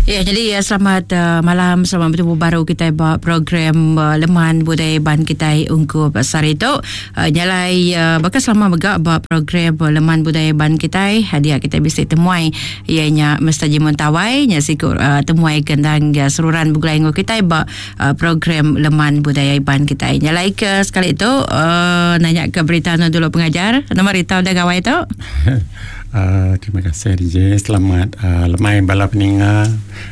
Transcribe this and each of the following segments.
Ya, jadi ya, selamat malam, selamat bertemu baru kita ba program Leman Budaya Iban kita ungkup sehari tu. Nyalai baka selama mega ba program Leman Budaya Iban kita, dia kita bisi temuai iya nya Mr. Jimun Tawai, nya siku temuai ke endang seruran begulai enggau kita ba program Leman Budaya Iban kita. Nyalai ke sekali tu nanya ke berita anu dulu pengajar. Nama rita udah gawai tu? Uh, terima kasih DJ. Selamat uh, lemai bala peninga.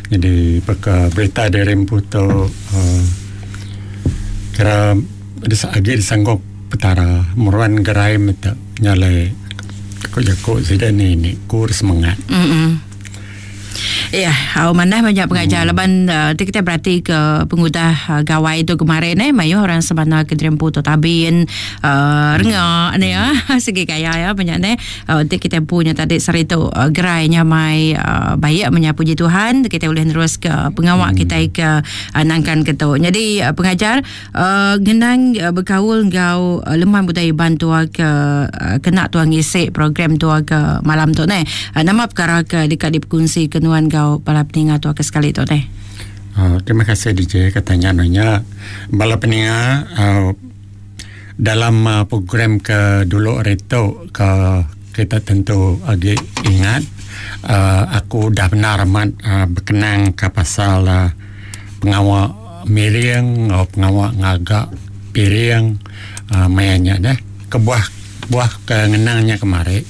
Jadi baka berita dari empu tu uh, kira agi disanggup petara meruan gerai meta nyalai ku jaku sida ni ni kur semangat. Mm-mm. Ya, au manah banyak pengajar hmm. laban uh, ti kita berati ke pengudah uh, gawai tu kemarin eh mayuh orang sebana ke dirempu tu tabin uh, renga ni ya segi gaya ya banyak ni uh, ti kita punya tadi sehari tu uh, gerai nyamai uh, baik menya puji Tuhan kita boleh nerus ke pengawa hmm. kita ke uh, nangkan ke tu. Jadi uh, pengajar uh, ngenang uh, bekaul enggau uh, leman budaya Iban tua ke uh, kena tua ngisi program tua ke malam tu neh. Uh, nama perkara ke deka dipekunsi ke nuan enggau bala peninga tua ke sekali tu neh. Uh, terima kasih DJ katanya nunya bala peninga uh, dalam uh, program ke dulu hari tu ke kita tentu agi ingat uh, aku dah benar amat uh, berkenang ke pasal uh, pengawa miring enggau pengawa ngaga piring uh, maya nya deh kebuah buah ke ngenang nya kemari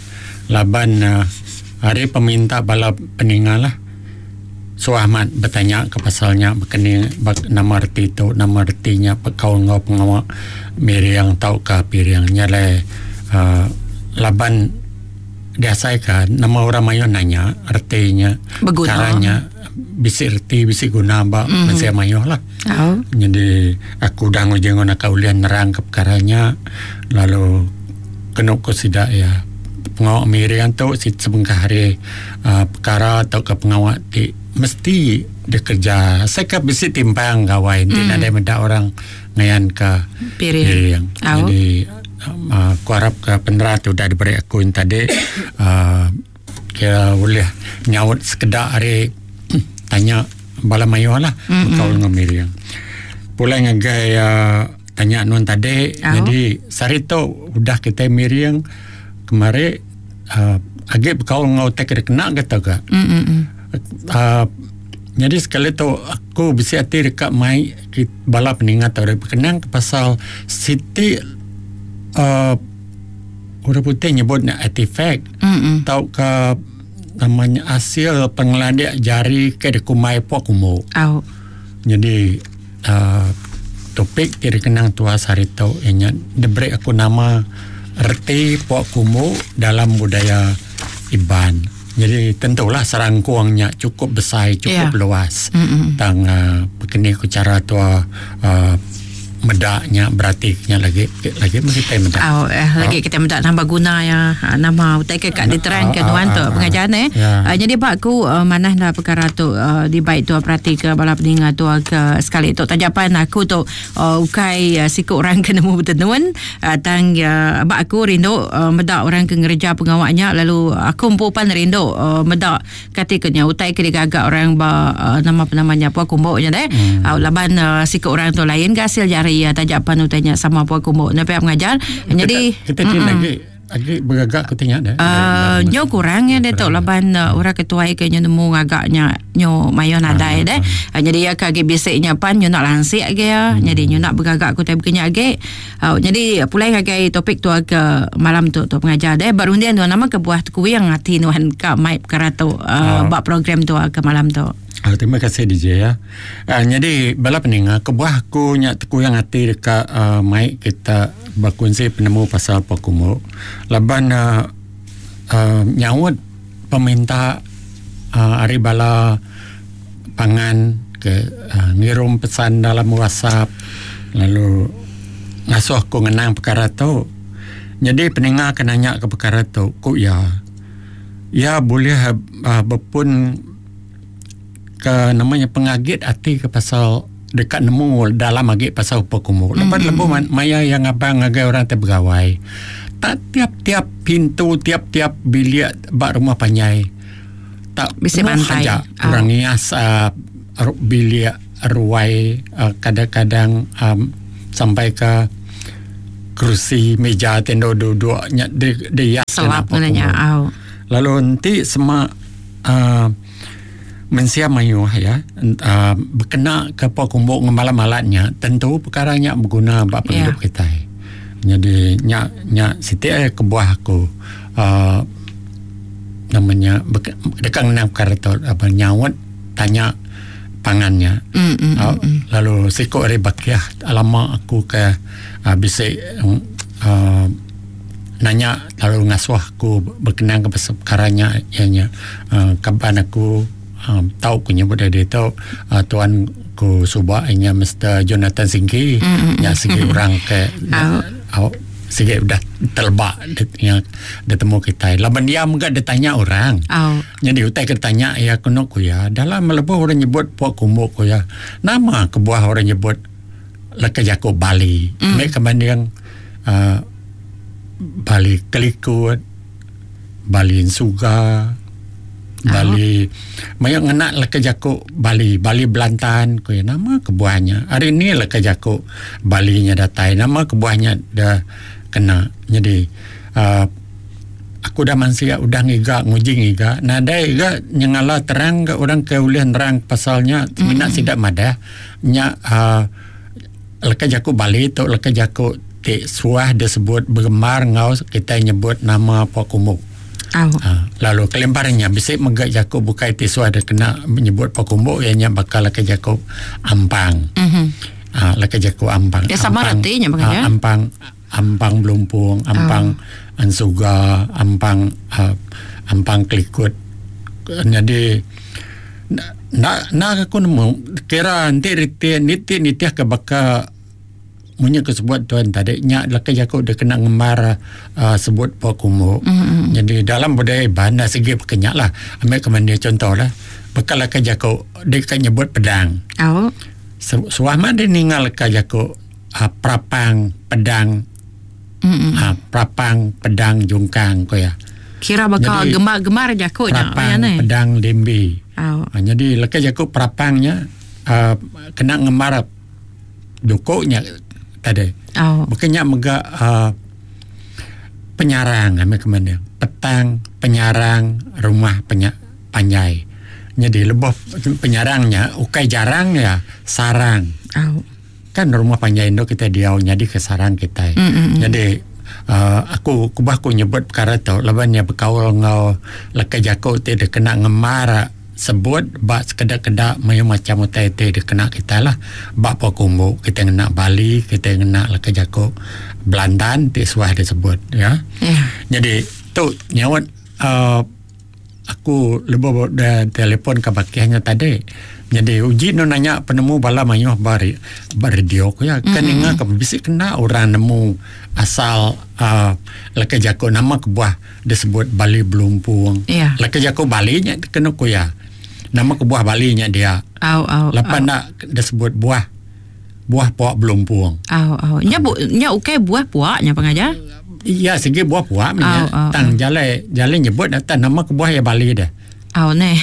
laban uh, ari peminta bala peninga lah Suah amat betanya ke pasal nya baka ni nama reti tu nama reti nya bekaul enggau pengawa miring tauka piring nya alai uhh laban diasai ka nama orang mayuh nanya reti nya chara nya bisi reti bisi guna ba mensia mayuh lah. Nyadi aku udah nguji enggau naka ulih nerang ka pekara nya lalu kenu ku sida iya pengawa miring tu sebengkah ari uhh pekara tauka pengawa ti mesti dikereja asai ka bisi timpang gawai enti nadai meda orang ngayanka piring. Jadi uhh aku arap ka penera ti udah diberi aku yen tadi uhh kira ulih nyaut sekeda ari tanya bala mayuh lah bekaul enggau miring. Pulai ngagai uhh tanya nuan tadi jadi sehari tu udah kitai miring kemari uhh agi bekaul enggau utai ke dikena ke tau ka. uhh nyadi sekali tu aku bisi ati deka mai bala peninga tau bekenang ke pasal siti uhh orang putih nyebut ne artifact tauka nama nya asil pengelandik jari ke dikumbai pok umbu. Nyadi uhh topik ti dikenang tuas hari tu iya nya diberi aku nama reti pok kumbu dalam budaya Iban. Jadi tentulah serangkung nya chukup besai chukup luas tang uhh bekeni ku chara tua uhh meda nya berati nya lagi lagi meh kitai meda. Au eh lagi kitai meda nambah guna iya nama utai ke ka diterangka nuan tu pengajar neh. Nyadi ba aku manah enda perkara tu dibai tua peratika bala peninga tua ke sekali tu taja pan aku tu ukai siku orang ke nemu betenun tang ba aku rindu meda orang ke ngereja pengawa nya lalu aku empu pan rindu meda Kati ke nya utai ke digaga orang ba nama penama nya pua kumbu nya deh. Hmm. Au laban uh, siku orang tu lain ga hasil jari iya taja pan utai nya sama pua kumbu. Nya pia pengajar. Jadi kita ti lagi agi begaga ke nya deh. Uh, nyo kurang ya deh tu laban uh, orang ke tuai ke nyo nemu ngaga nya nyo mayo nadai deh. Uh, jadi iya ke agi bisi nya pan nyo nak lansik agi ya. Hmm. Jadi nyo nak begaga ku utai bekenya agi. Au nyadi pulai ngagai topik tua ke malam tu tu pengajar deh ba runding nuan nama kebuah tekuing ati nuan ka mai perkara tu uh, ba program tua ke malam tu. Uh, terima kasih DJ ya. Uh, nyadi bala peninga kebuah aku nya tekuing ati deka uh, mai kita bekunsi penemu pasal Pokumu laban uh, uh, nyaut peminta uh, ari bala pangan ke uhh ngirum pesan dalam whatsapp lalu ngasuh aku ngenang pekara tu. Nyadi peninga ke nanya ke pekara tu ku iya, iya bulih uhh bepun ke nama nya pengagit ati ke pasal deka nemu dalam agi pasal upa kumbu. Lepas lebuh maya iya ngabang ngagai orang ti begawai tak tiap tiap pintu tiap tiap bilik ba rumah panjai. tak Bisi penuh bantai. aja Au. orang ngias uh, bilik ruai uh, kadang-kadang um, sampai ke kerusi meja ti endur duduk nya di dihias Selap ngena pua ngena nya kumbu. au. Lalu enti sema uh, mensia mayuh ya uh, bekena ke pua kumbu ngemalat-malat nya tentu perkara nya beguna ba pengidup Ya. kitai. Jadi nya nya siti ari kebuah aku uh, nama nya deka ngenang perkara tu apa nyaut tanya pangan nya. Mm, mm, Uh, mm, mm. lalu siku ari bakih lama aku ke uh, bisi uh, nanya lalu ngasuh aku berkenang ke pasal perkara nya iya nya uh, kaban aku uh, tau ku nyebut dari tu uh, tuan ku suba iya nya Mr Jonathan Singki Mm, mm, mm. nya sigi orang ke Au. au sigi udah telebak dia, dia temu kitai laban dia mega ditanya orang. Au. Jadi utai ke tanya ya keno ku ya dalam lebuh orang nyebut pua kumbu ku ya nama kebuah orang nyebut leka jaku Bali mm. Mek kebanding uh, Bali Kelikut, Bali Suga, Bali mayak ngena leka jaku Bali, Bali Belantan ku ya nama kebuahnya. Hari ni leka jaku Bali nya datai nama kebuahnya dah kena. Jadi uh, aku dah mansia udah ngiga nguji ngiga nadai ga nyengala terang ga orang ke ulih nerang pasalnya semina mm-hmm. sidak madah nya uh, leka jaku Bali tu leka jaku ti suah disebut bergemar ngau kita nyebut nama pua kumbu. Au. Ha, lalu kelimparannya bisi mega jaku bukai ti suah dikena menyebut pua kumbu ianya bakal leka jaku ampang. Mhm. Ha, leka jaku ampang. Ya, sama ampang, retinya bang, ha, ya? ampang ampang belumpung, ampang ansuga, ampang uh, ampang kelikut. Jadi nak nak aku nemu kira nanti reti niti nitih ke baka munyi ke sebut tuan tadi nya leka jaku dia kena ngemar uh, sebut pua kumbu. Mm-hmm. Jadi dalam budaya Iban dah segi pekenyak lah. Ambil ke mana contoh lah. Bekal leka jaku dia kan nyebut pedang. Au. Suah mah dia ningal leka jaku uh, prapang pedang Mm-mm. uh, prapang pedang jungkang ko ya. Kira bakal Jadi, gemar-gemar jaku nya Prapang ya ne. pedang limbi. Au. Ha, jadi leka jaku prapangnya uh, kena ngemar dukuknya tadi. Au. Bukannya mega uh, penyarang ambil ke mana? Petang penyarang rumah panjai. Jadi lebih penyarangnya ukai jarang ya sarang. Au. Kan rumah panjai itu kita diau jadi ke sarang kita. Mm, mm, mm. Jadi uh, aku kubah aku nyebut perkara tu laban nya berkaul ngau leka jaku ti dia kena ngemar sebut bak sekedak-kedak mayu macam utai ti dia kena kita lah bak pua kumbu kita ngena Bali kita ngena leka jaku Belandan ti suah disebut ya. Ya. Jadi tu nyawa uh, aku lebih dah telefon ke bakihnya tadi. Jadi uji nu nanya penemu bala mayuh bari radio ku ya kan mm-hmm. ingat ke bisi kena orang nemu asal uh, leka jaku nama kebuah disebut Bali Belumpung. Ya. Leka jaku Bali nya kena ku ya. Nama kebuah Bali nya dia. Au au. Lepas nak disebut buah buah puak belumpung. Au au. Nya bu nya ukai buah puak nya pengajar. Ya segi buah puak nya. Au, au, Tang jalai jalai nyebut datang nama kebuah ya Bali dah. Au ne.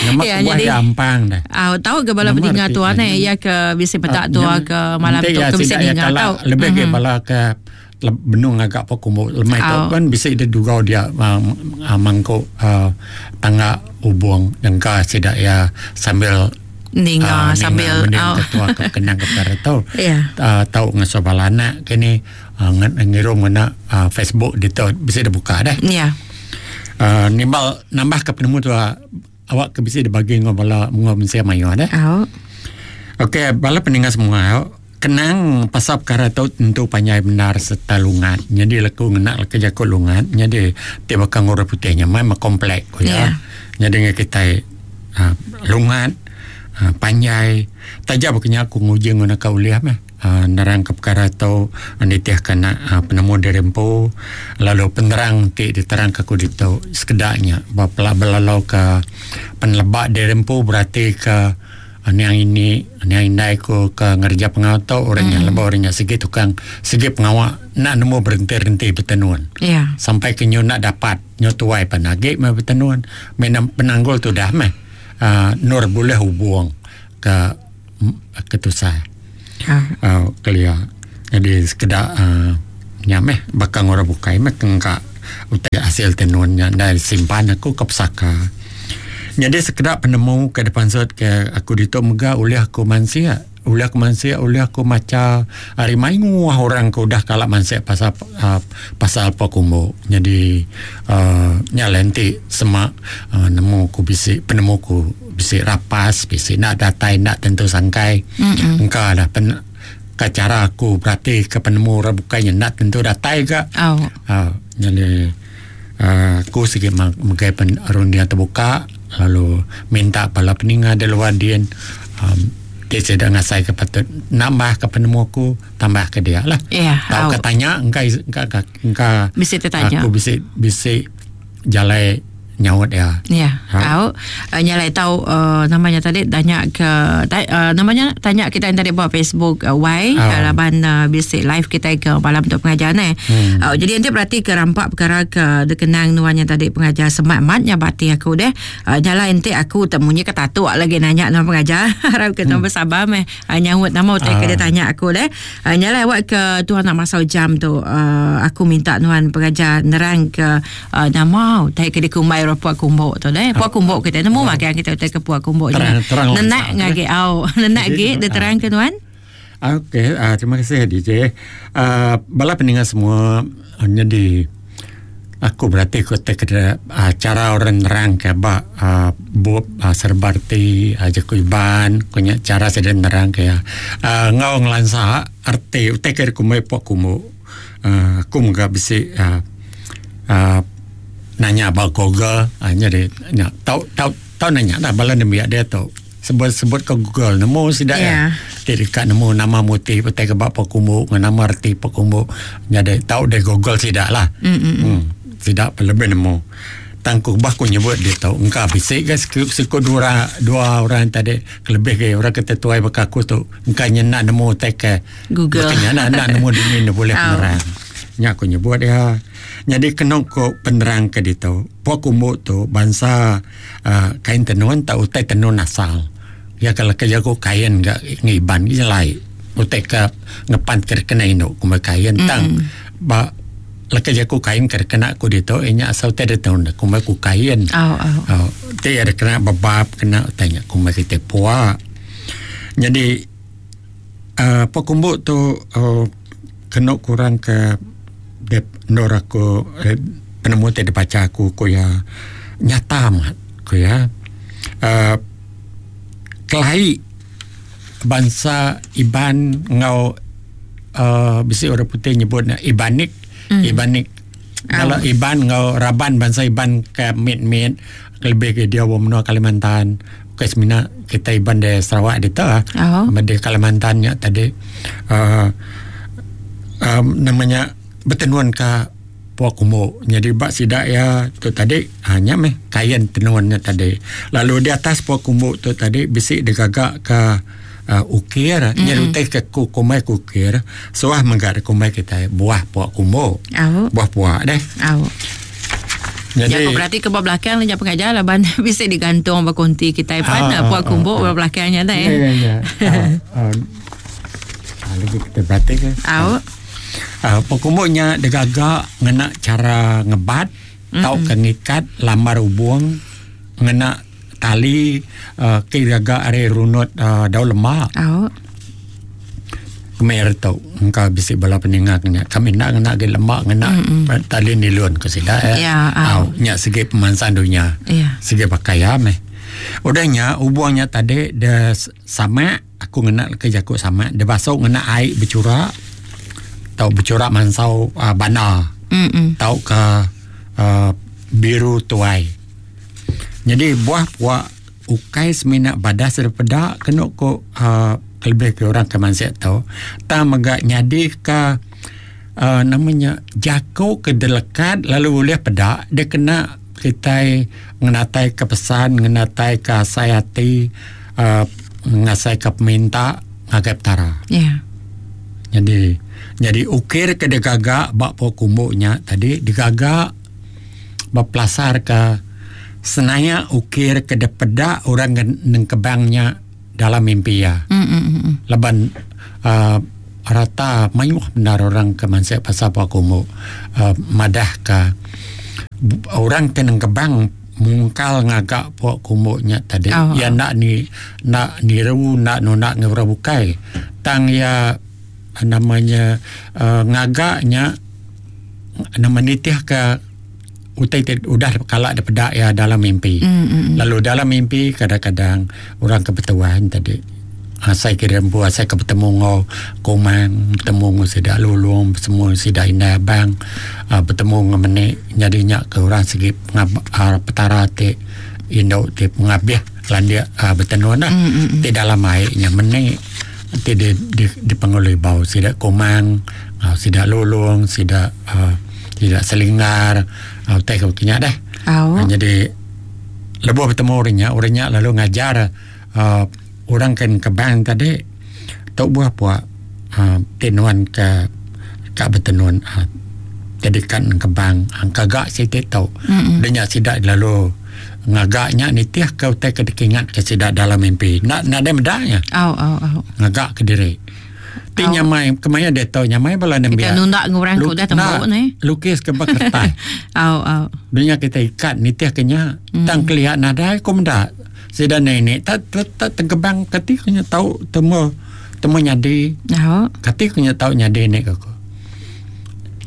Nama Ya, kebuah jadi ya Ampang dah. Au tahu ke bala Nama pendengar reti tuan nya. ne ya ke bisi petak tua ke malam nanti tu ya ke bisi sidak ya dengar kala tau. lebih ke Mhm. bala ke benung agak apa kumbu lemai tu Au. kan bisi dia dugau dia uh, uh, mangkuk uh, tangga hubung jangka sidak ya sambil Ninga ah, sambil ninga au. ketua ke kenang ke perkara tu Ya. uh, tau ngasuh bala anak kini uh, ngirum ngena uh, Facebook dia tu bisa dibuka dah Ya. uh, nimbal nambah ke penemu tu uh, awak ke bisa dibagi ngau bala ngau mensia mayu dah. Au. Okey, bala pendengar semua, kenang pasal perkara tu tentu panjai benar serta lungat. Jadi leku ngena leka jaku lungat. Jadi ti bakal ngurus putihnya memang komplek ko ya. Ya. Jadi dengan kita uh, lungat uh, panjai taja bukannya aku nguji nguna ka uliah meh. Uh, nerang ke perkara tu nitih kena uh, penemu diri empu lalu penerang ti diterang ke aku ditu sekedaknya bapela belalau ke penelebak diri empu berarti ke Niang ini niang indai ku ke ngereja pengawa tu orang nya lebuh orang nya sigi tukang sigi pengawa enda nemu berenti-renti betenun. Yeah. Sampai ke nyu enda dapat nyu tuai pan agi meh betenun. Meh penanggul tudah meh uhh endur bulih ubung ke ke tusah. Uhh kelia jadi sekeda uhh nya meh baka orang bukai meh ke engka utai asil tenun nya enda simpan aku ke pesaka. Nyadi sekeda penemu ke dipansut ke aku ditu mega ulih aku mansik, ulih aku mansik ulih aku macha ari mayuh orang ke udah kala mansik pasal uhh pasal pua kumbu. Nyadi uhh nya alai enti sema uhh nemu ku bisi penemu ku bisi rapas bisi enda datai enda tentu sangkai engka dah pen ka chara aku berati ke penemu orang bukai nya enda tentu datai ga. Uhh nyadi. Aku sigi megai runding tebuka lalu minta bala peninga da luar din uhh ti sida ngasai ka patut nambah ka penemu aku tambah ka dia lah. Tauka tanya engka engka aku bisi bisi jalai nyaut iya. Ya. Au nya alai tau nama nya tadi tanya ke nama nya tanya kita tadi ba Facebook wai laban bisi live kitai ke malam tu pengajar neh. Au jadi enti berati ke rampa perkara ke dikenang nuan nya tadi pengajar semak amat nya ba ati aku deh. Nya alai enti aku te munyi ke tatuk lagi nanya nuan pengajar harap ke nuan besabar meh nyaut nama utai ke ditanya aku deh. Nya alai awak ke tuan nak masau jam tu aku minta nuan pengajar nerang ke Nama utai ke dikumbai orang puak kumbu tu deh. Puak kumbu kita nemu magang kita utai ke puak kumbu nya. Nenak ngagi au. Nenak agi diterang ke nuan. Okey, terima kasih DJ. Bala peninga semua nyadi aku berati ku te kede cara orang nerang ke ba bup serba reti jaku Iban ku nya cara sida nerang ke iya. Enggau ngelansa reti utai ke dikumbai puak kumbu. Aku mega bisi uhh nanya ba google uhh nyadi nya tau tau tau nanya lah bala nembiak diatu sebut sebut ka google nemu sida iya ti deka nemu nama motif utai ke ba pekumbu ngan nama reti pekumbu nyadi tau deh google sida lah uhh sida pun lebih nemu. Tang ku bah ku nyebut ditu engka bisi ga siku dua dua orang tadi kelebih agi orang ke tuai baka aku tu engka nya enda nemu utai ke Google. Baka nya enda enda nemu dini ne bulih penerang. Nya ku nyebut iya. Nyadi kenu ku penerang ke ditu, pua kumbu tu bansa uhh kain tenun tau utai tenun asal. Iya ke leka jaku kain ga ngiban nyelai utai ke ngepan ke kena indu kumbai kain tang ba leka jaku kain ke kena ku ditu iya nya asal utai ditu kumbai ku kain. Au. Ti iya kena bebab kena utai nya kumbai kitai pua. Nyadi uhh pekumbu tu uhh kenu kurang ke endur aku penemu ti dibacha aku ku iya nyata amat ku iya uhh kelai bansa Iban enggau uhh bisi orang putih nyebut ne Ibanik Ibanik kalau Iban enggau raban bansa Iban ke mit-mit kelebih agi dia wang menua Kalimantan bukai semina kitai Iban di Sarawak ditu ah di Kalimantan nya tadi uhh um nama nya betenun ka Pua Kumbu. Nyadi ba sida iya tu tadi uhh nya meh kain tenun nya tadi. Lalu di atas Pua Kumbu tu tadi bisi digaga ka uhh ukir nya utai ke ku kumbai ku ukir suah mega dikumbai kitai buah Pua Kumbu. Buah pua deh. Jadi Jaku berarti ke ba belakang nya pengajar laban bisi digantung ba konti kitai pan pua kumbu ba belakang nya deh. Ya ya ya. Lagi kita berarti ke. Au. Pua kumbu nya digaga ngena cara ngebat tauka ngikat lambar ubung ngena tali ke digaga ari runut daun lemak. Au. Kemaya tu engka bisi bala peninga ke nya kami enda ngena agi lemak ngena tali nilon ku sida ya. Au nya sigi pemansang dunya. Sigi baka iya meh. Udah nya ubung nya tadi de sama aku ngena leka jaku sama de basu ngena ai bechura tau bechura mansau uhh banda tauka uhh biru tuai. Nyadi buah pua ukai semina badas daripada kenu ku uhh kelebih ke orang ke mansik tu tang mega nyadi ka uhh nama nya jaku ke dilekat lalu ulih peda dikena kitai ngenatai ka pesan ngenatai ka asai ati uhh. Ngasai ke peminta ngagai Petara. Ya. Nyadi nyadi ukir ke digaga ba pua kumbu nya tadi digaga bepelasarka senaya ukir ke dipeda orang ke nengkebang nya dalam mimpi iya. Laban uhh rata mayuh bendar orang ke mansik pasal pua kumbu uhh madahka orang ke nengkebang mungkal ngaga pua kumbu nya tadi iya enda ni enda niru enda nunda enggau orang bukai tang iya nama nya uhh ngaga nya nama nitihka utai ti udah kala dipeda iya dalam mimpi. Lalu dalam mimpi kadang-kadang orang ke betuan tadi asai ke dirempu asai ke betemu enggau kumang betemu enggau sida lulong betemu sida indai abang uhh betemu enggau meni nyadi nya ke orang sigi uhh petara ti indu ti pengabih landik uhh betenun lah ti dalam ai nya meni ti di dipenggulu ibau sida kumang uhh sida lulong sida uhh Sida selinggar utai ke baka nya deh. Nyadi lebuh betemu orang nya, orang nya lalu ngajar uhh orang ke engkebang tadi tu buah pua uhh ti nuan ke ka betenun uhh jadi ka engkebang gaga siti tu. Udah nya sida lalu ngaga nya nitih ke utai ke dikingat ke sida dalam mimpi. Enda nadai meda nya. Ngaga kediri. Ti nyamai kemaya diatu nyamai bala nembiak. Kita nunda enggau orang ke udah tembu neh. Lukis ke ba kertas. Au au. Dunya kita ikat nitih ke nya. Mm. Tang kelia nadai ku meda. Sida nenek tak tak tegebang kati ku nya tau temu temu nyadi. Au. Kati ku nya tau nyadi nek aku.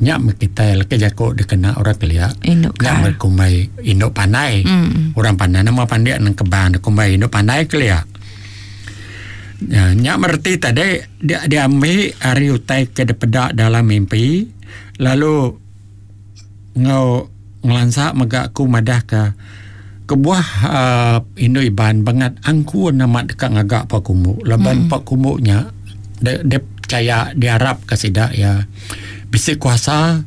Nya meh kitai leka jaku dikena orang kelia. Indu nya meh kumbai indu pandai. Mm. Orang pandai nama pandik nengkebang kumbai indu pandai kelia. Nya mereti tadi dia diambi ari utai ke dipeda dalam mimpi lalu enggau ngelansa mega aku madahka kebuah uhh indu Iban bangat angkun amat deka ngaga pua kumbu laban pua kumbu nya dep pechaya diarapka sida iya bisi kuasa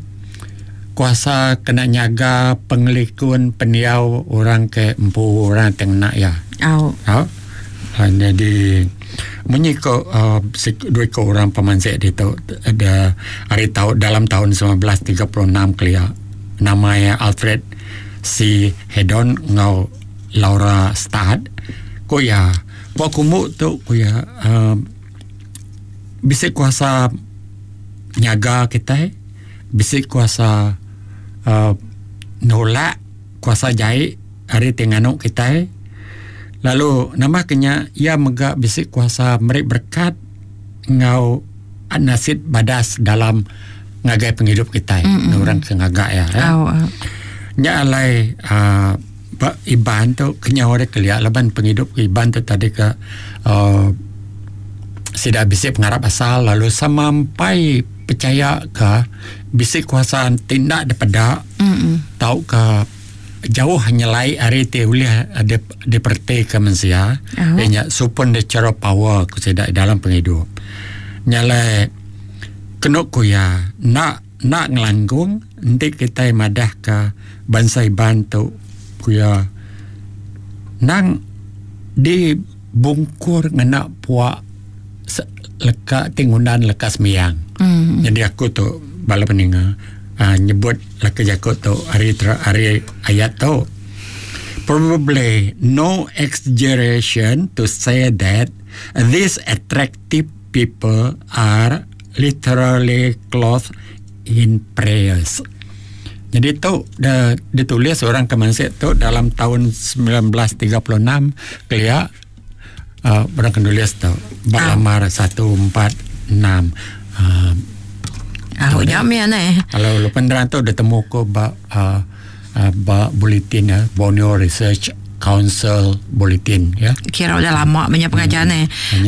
kuasa kena nyaga pengelikun pendiau orang ke empu orang ti ngena iya. Au. Au. Nyadi munyi ko uhh dua iko orang pemansik ditu da ari tau dalam taun 1936 kelia nama iya Alfred C Haddon enggau Laura Studd ku iya pua kumbu tu ku iya uhh bisi kuasa nyaga kitai bisi kuasa uhh nulak kuasa jai ari ti nganu kitai lalu nambah ke nya iya mega bisi kuasa meri berekat enggau nasit badas dalam ngagai pengidup kitai mm-hmm. orang ke ngaga iya eh. Oh, oh. Nya alai uh, ba Iban tu kenyau ari kelia laban pengidup Iban tu tadi ke uh, sida bisi pengarap asal lalu sampai pechaya ke bisi kuasa ti enda dipeda mm-hmm. tauka jauh nyelai ari ti ulih diperetika mensia oh. iya nya supernatural power ku sida dalam pengidup. Nya alai kenu ku iya enda enda ngelanggung enti kitai madahka bansa Iban tu ku iya nang dibungkur ngena pua leka ti ngundan leka sembiang. Mm. Jadi aku tu bala peninga uh, nyebut leka jaku tu ari ari ayat tu. Probably no exaggeration to say that these attractive people are literally clothed in prayers. Jadi tu de, ditulis orang ke mansik tu dalam tahun 1936 kelia uh, orang ke nulis tu ba lamar 146 uh, Ah, nya meh neh. Kalau lu penerang tu ditemu ko ba uh, uh, ba bulletin ya, Borneo Research Council Bulletin ya. Kira udah lama banyak pengajar hmm. neh.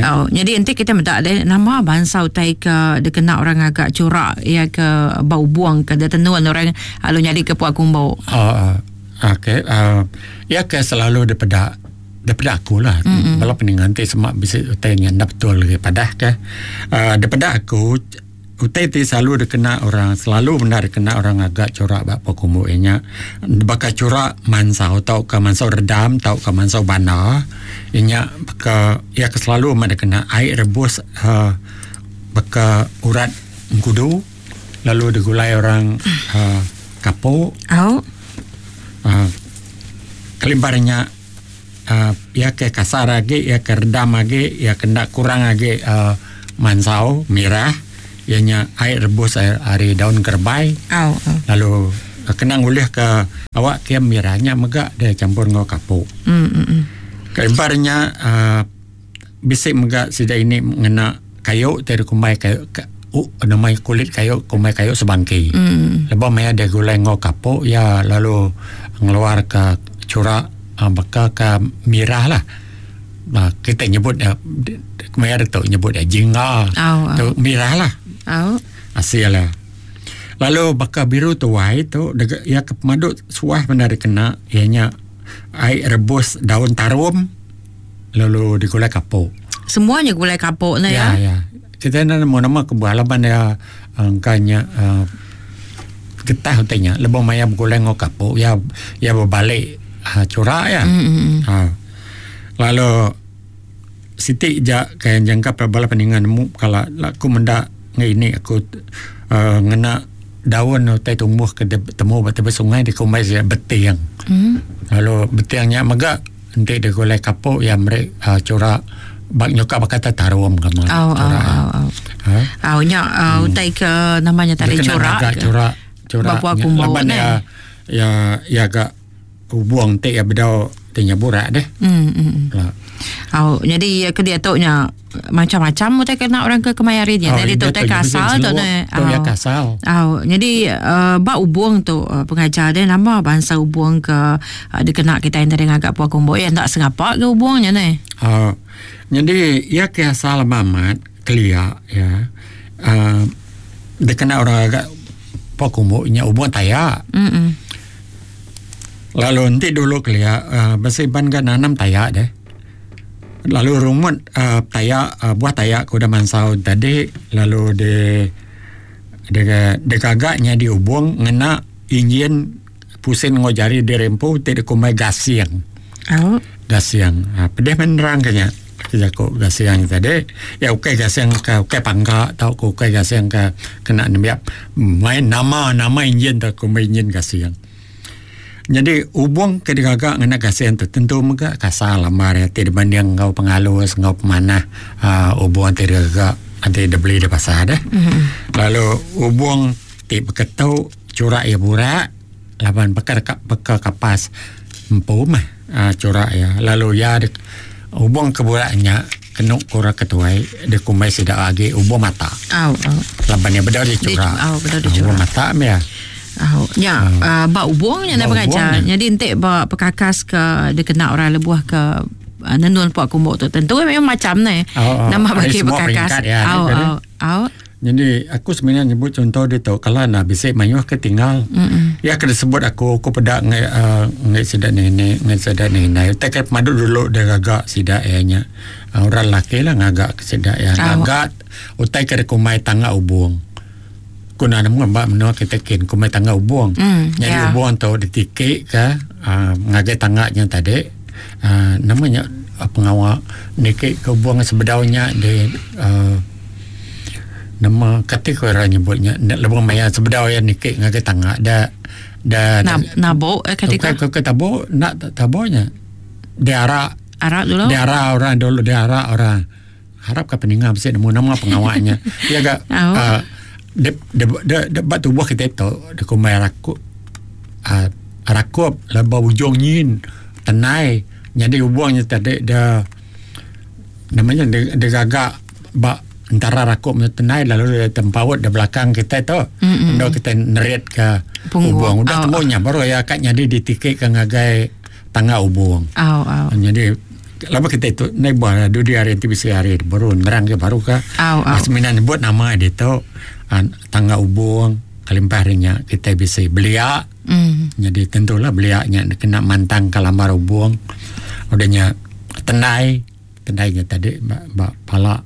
Oh, jadi enti kita meda deh nama bansa utai ke dikena orang ngaga curak ya ke ba ubung ke ditenun orang lalu nyadi ke pua kumbu. Oh, uh, okey. Uh, ya ke selalu dipeda Daripada aku lah mm-hmm. Bala peninga enti sema bisi utai nya enda betul lagi padah ke uh, daripada aku utai ti selalu dikena orang selalu bendar dikena orang ngaga chura ba pua kumbu iya nya baka chura mansau tauka mansau redam tauka mansau banda iya nya baka iya ke selalu amat dikena ai rebus uhh baka urat engkudu lalu digulai orang uhh kapok uhh kelimpah ari nya uhh iya ke kasar agi iya ke redam agi iya ke enda kurang agi uhh mansau mirah iya nya ai rebus ari daun kerebai lalu kena ngulih ke awak ke mirah nya mega deh champur enggau kapok. Kelimpah ari nya uhh bisi mega sida ini ngena kayu ti dikumbai kayu nama kulit kayu kumbai kayu sebangki. Lebuh maya deh gulai enggau kapok iya lalu ngeluar ka chura baka ka mirah lah. Kita nyebut iya maya ditu nyebut iya jingga tu mirah lah asil iya. Lalu baka biru tuai tu iya ke pemadu suah bendar dikena iya nya ai rebus daun tarum. Lalu digulai kapok. Semua nya gulai kapok ne ya. Ya ya. Kita enda nemu nama kebuah laban iya engka nya uhh getah utai nya lebuh maya begulai enggau kapok iya iya bebali uhh chura iya. Uhh lalu siti ja ke jangka bala peninga nemu kala aku menda nginik aku uhh ngena daun utai tumbuh ke temu ba tebing sungai dikumbai sida beting. Lalu beting nya mega Enti digulai kapok iya meri chura ba nyuka baka tai tarum ke meh chura iya. Au nya utai ke nama nya tadi chura ke chura chura laban iya iya iya ga ubung ti iya bedau ti nya burak deh. Au nyadi ke diatu nya macam-macam utai kena orang ke kemaya hari nya. Jadi tu utai kasal tu ne. Tu ya kasal. Au jadi uh, ba ubung tu uh, pengajar dia nama bansa ubung ke uh, dikena kita yang tadi ngaga pua kumbu ya ndak sengapa ke ubung nya ne. Uh, jadi ya ke asal amat kelia ya. Uh, dikena orang agak pua kumbu nya ubung taya. Mm Lalu enti dulu kelia uh, besi ban ga nanam taya deh. Lalu rumut uhh taya buah taya ke udah mansau tadi lalu di digaga nyadi ubung ngena injin pusin enggau jari diri empu ti dikumbai gasing. Gasing uhh pedih meh nerang ke nya jaku gasing tadi iya ukai gasing ke ukai pangka tauka ukai gasing ke kena nembiak main nama nama injin tu kumbai injin gasing. Nyadi ubung ke digaga ngena gasing tu tentu mega kasar lambar iya ti dibanding enggau pengalus enggau pemanah uhh ubung ti digaga enti dibeli di pasar deh. Lalu ubung ti beketu chura iya burak laban baka deka baka kapas empu meh uhh chura iya lalu iya ubung ke burak nya kenu ku orang ke tuai dikumbai sida agi ubung mata. Laban iya bedau dichura. Ubung mata meh iya. Au nya hmm. uh, ba ubung nya ba pengajar. Jadi enti ba pekakas ke dikena orang lebuh ke uh, nenun puak kumbu tu tentu memang macam ne. Oh, oh. Nama bagi pekakas. Ya, au au au. Jadi aku sebenarnya nyebut contoh dia tu kalau nak bisi mayuh ke tinggal. Mm-mm. Ya kena sebut aku aku peda ngai uh, ngai sida nenek ngai sida nenek. Utai ke pemadu dulu dia gagak sida ya nya. Uh, orang laki lah ngagak ke sida ya. Ngagak utai ke dikumbai tangga ubung. Ku enda nemu ba menua kita kin ku meh tangga ubung. Mm, Nyadi yeah. ubung tu ditiki ka uh, ngagai tangga nya tadi uh, nama nya uh, pengawa niki ke ubung sebedau nya di uh, nama kati ku orang nyebut nya lebuh maya sebedau iya niki ngagai tangga da da Nab, nabuk eh kati ka ke tabuk nak tabuk nya diarak arak dulu diarak orang dulu diarak orang Harap ka peninga bisi nemu nama pengawa nya. Iya ga uh, de, de, de, de, ba tubuh kita tu dikumbai rakup uh, rakup leba ujung nyin tenai nyadi ubung nya tadi de namanya de, de gaga ba antara rakup dengan tenai lalu dia tempaut di belakang kita tu mm-hmm. Endo kita nerit ke ubung udah temu nya baru ya kat nyadi ditikik ke ngagai tangga ubung. Au au. Nyadi lama kita tu nai buah dudi hari ti bisi hari baru nerang ke baru ka. Au au. Semina nyebut nama ditu tangga ubung kelimpah ari nya kita bisi belia. Nyadi tentulah belia nya kena mantang ka lambar ubung. Udah nya tendai, tendai nya tadi ba ba pala.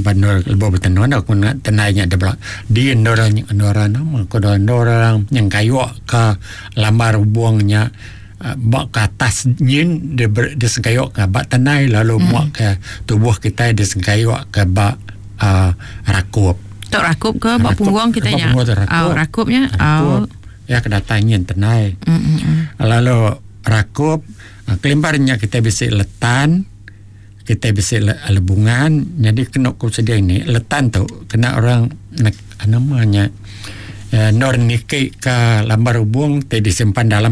Ba endur lebuh betenun aku ngena tenai nya dibela di endur endur nama ku endur orang nyengkayu ka lambar ubung nya ba ke atas nyin disengkayu ka ba tenai lalu mua ke tubuh kitai disengkayu ka ba uhh rakup. Tu rakup ke ba punggung kitai nya. Au rakup nya. Au. Iya ke datai nyin tenai. Lalu rakup kelimpah nya kitai bisi letan. Kitai bisi lebungan nyadi kenu ku sida ini letan tu kena orang nama nya endur niki ka lambar ubung ti disimpan dalam.